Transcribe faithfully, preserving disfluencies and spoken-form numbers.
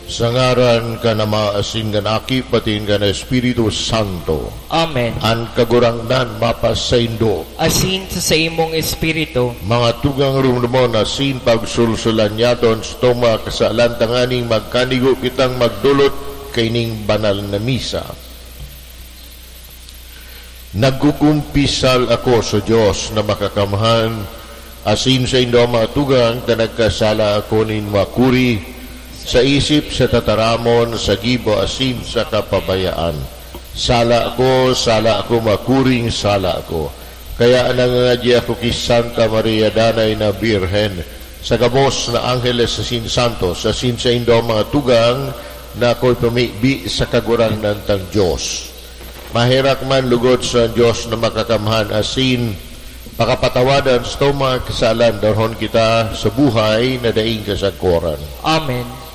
Sa ngaran kan Ama, asin kan Aki, patin kan Espiritu Santo. Amen. An Kagurangnan mapasaindo. Asin sa saimong espiritu. Mga tugang, rumdumon asin pagsulsulan niyaton sa toma kasalan tanganing magkanigo kitang magdolot kaining banal na misa. Nagkukumpisal ako sa Dios na Makakamhan, asin saindo, mga tugang, ta nagkasala ako nin makuri, sa isip, sa tataramon, sa gibo, asin sa kapabayaan. Sala ako, sala ako, makuring sala ako. Kaya nangangadya ako ki Santa Maria, Danay na Birhen, sa gabos na angheles asin santos, asin saindo, mga tugang, na ako'y pamibi sa Kagurangnan tang Dios. Maherak man lugod sa Dios na Makakamhan asin pakapatawadan sa mga kasalan, darhon kita sa buhay na daing kasagkoran. Amen.